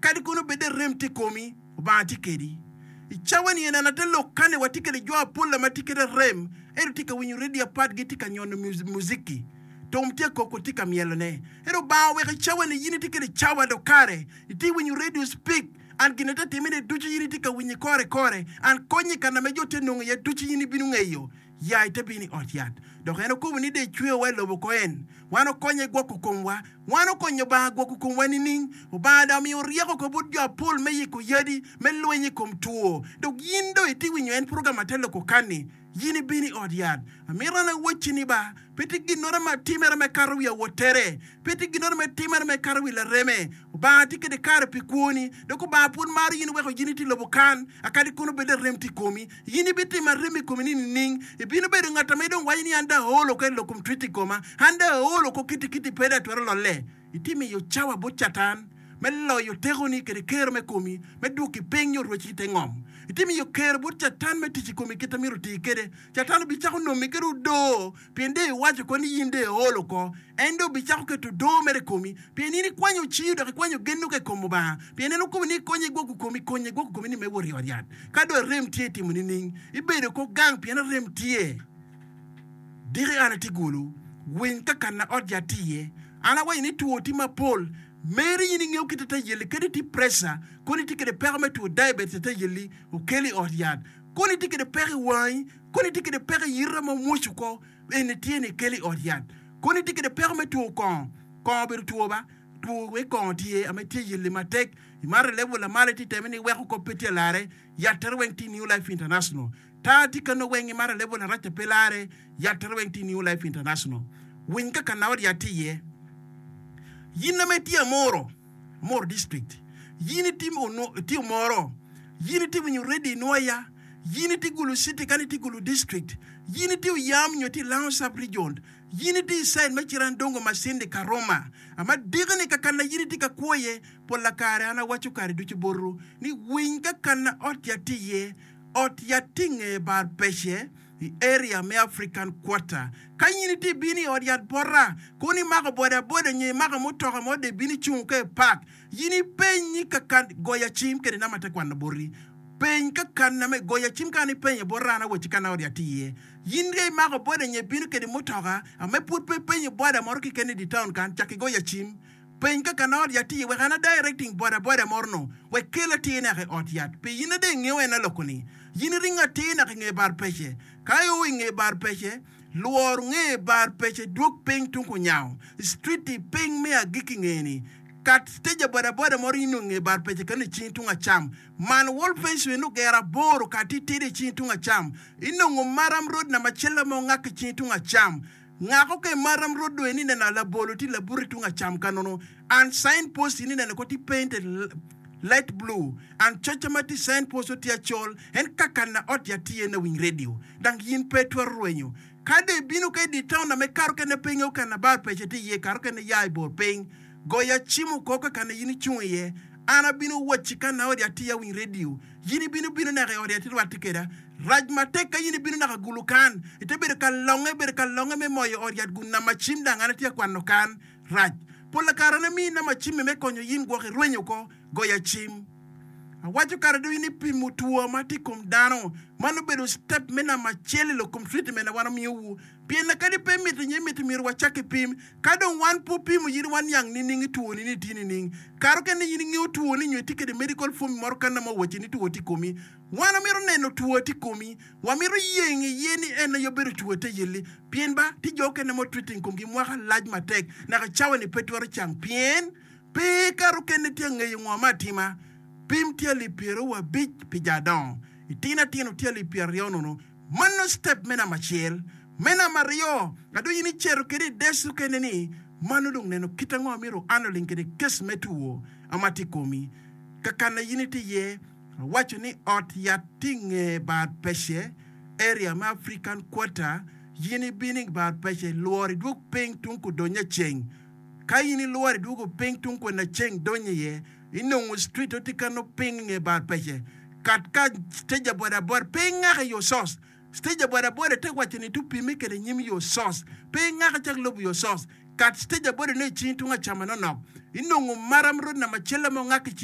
Akadi kono bed arem tye i komi, Lubanga tye kedi. I cawa-ni en ate lok kani watye kede jo apol ma tye kede arem ento tye ka winyo redio apart gitye ka nyono muziki. Tom tye koko tye ka myelone. Ento Lubanga oweko i cawa-ni in itye kede cawa dok kare itye winyo redio speak and gin ate timine ducu in itye ka winyo kore kore and konye kana me jo tye nongo iye ducu in ibino ngeyo. Ya ite bino i ot yat. Dok en okobo ni dong ecweyowa i lobo ko en. Wan okonye gwoko komwa. Wan okonyo Obanga gwoko komwa nining? Obanga dong omiyo ryeko ko bot jo apol me yiko yadi me lweny i kom two. Dok yin dong iti winyo en program ate loko kani. Yin ibino i ot yat. Amito an awacci ni ba, pe tye ginnoro ma atimere me kato wi awotere. Pe tye ginnoro me timere me kato wi lareme. Obanga tye kede kare pi kwoni. Dok Obanga pud maro yin weko yin iti lobo kan, akadi kono bed arem tye i komi. In ibitimo arem i komi ni nining? Ibino bedo ngat ma idong waco ni, 'An dong aol oko i lok kom twit i koma. An dong aol oko kitikiti pe dong atwero lolle. Itimo iyo cawa bot Catan me loyo tekoni kede kero me komi me dwoki piny nyo rweci i te ngom. Itimo iyo kero bot Catan me tic i komi kit ma myero oti kede. Catan obicako nomi kede odoo pien dong iwaco oko ni in dong iol oko. En dong obicako keto odoo mere i komi pien in ikwanyo ciu dok ikwanyo gennu ka i kom Lubanga. Pien en okobo ni ikonye igwoko komi, konye igwoko komi ni me wot i ot yat. Ka dong arem tye itimo nining? Ibedo oko gang pien arem tye. Diki an atye gulu, winy ka kanna ot yat tye iye. An awaco ni two tye mapol. Meri in ingeyo kit ate yelli kadi itye pressure, kono itye kede peko me two diabetes ate yelli okeli i ot yat. Kono itye kede peko i wangi, kono itye kede peko i yita ma omwoc oko, eni tye ni keli i ot yat. Kono itye kede peko me two kongo, kongo obedo two ba, two me kongo tye ame tye yelli matek, imato i level lamalo itye teme ni iweko kop pe tye alare, yat tere weng tye i New Life International. Tar tye kano weng imato i level arac pe lare, yat tere weng tye i New Life International. Winy ka kana ot yat tye iye. Yin ame itye Amuru, Amuru District, yin itye Omoro, yin itye winyo radio inwoya, Yin itye Gulu City kadi itye Gulu District, yin itye Oyam nyo itye Lango Sub Region, yin itye i side me Cirandongo, Masindi, Karuma, ama diki-ni kakana yin itye ka kwo iye, pola kare an awaco kare ducu botwu ni winy kakana ot yat tye iye, ot yat tye i nge bar pece i area me African Quarter. Ka yin itye ibino i ot yat bota, kono imako boda boda nyo imako mutoka mo dong ibino icungo ka i park, Yin ipeny ni ka kan goya cim kede nama te kwano boti. Peny ka kan nama goya cim ka an ipenyo bot an awacci ka na odi atye iye. Yin ka imako boda nyo ibino kede mutoka ame pud pe ipenyo boda moro keken i di town kan cak igoya cim. Peny ka kan odi atye iye wek an a directing boda boda moro no wek kel atir naka i ot yat. Pi yin ade ingeyo en aloko ni yin iringo atir naka inge bar pece. Ka io inge bar pece lwor nge bar pece dwog piny tung kunyango street i piny me agikki nge ni Kat stage boda boda moro inongo i nge bar pece keno i cingi tung acam. Man wall fence wene ogero aboro ka titidi i cingi tung acam. Inongo maram road namba acel ma ongak i cingi tung acam. Ngako ka i maram road do eni ineno labolo tye labuti tung acam ka nono and sign post ini ineno ko tye painted light blue and coca ma tye i sign post tye acol en kaka na ot yat tye iye na winy radio dang yin pe itwero rwenyo. Ka dong ibino ka i dye taun na me kato kene pe ingeyo ka na bar pece tye iye kato kene ya i bor piny. Goya cim oko ka kana in icung iye. An abino wacci ka na odi atir awiny redio. Yin ibino bino naka i odi atir rwatte keda. Rac matek ka yin ibino naka gulu kan. Ite bedo ka longe bedo ka longe me moyo ot yat gu nama cim dang an atye ka kwano kan. Rac. Pola kare an amiyi nama cimmi me konyo yin gwok irwenyo oko. Goya cim. Awaco kare ducu ni pimo two ma tye i kom dano man obedo step me namba acel i lok kom treatment na wan omiyo wu. Pien na kadi pe miti nyo imiti myero wacak ki pim. Ka dong wan pe opimo yin wan niang nining i two ni ni tye nining. Kare okene yin ingeyo two ni nyo itye kede medical form moro kanna ma owaci ni two tye i komi. Wan wamito neno two tye i komi. Wamito yeng iye ni en aye obedo two te yelli. Pien ba tye jo okene ma otreating komgi mwaka lac matek naka cawa ni pe twero cang pien pe kare okene tye angeyo ngo me atima. Pim tye alip pyeraryo abic pi jo adongo. Itino atino tye alip pyeraryo nono. Mano step me namba acel. Me namba aryo, adong in icito kede i desk okene ni, mano dong neno kit ango amyero handling kede case me two ma tye i komi. Kakana in itye iye, awaco ni ot yat tye i nge bar pece, area me African Quarter, in ibino i bar pece, lwor idwog piny tung kudonyo aceng. Ka in ilworo idwogo piny tung kwena ceng donyo iye, inongo street tye kano piny i nge bar pece. Kat ka stage aboda aboda pe ingako i yo source. Stage aboda aboda te waco ni tu pime kede nyim yo source. Pe ingako cak lubo yo source. Kat stage aboda ne i cingi tung acama nonok. Inongo maram road namba acel ma ongak i cingi.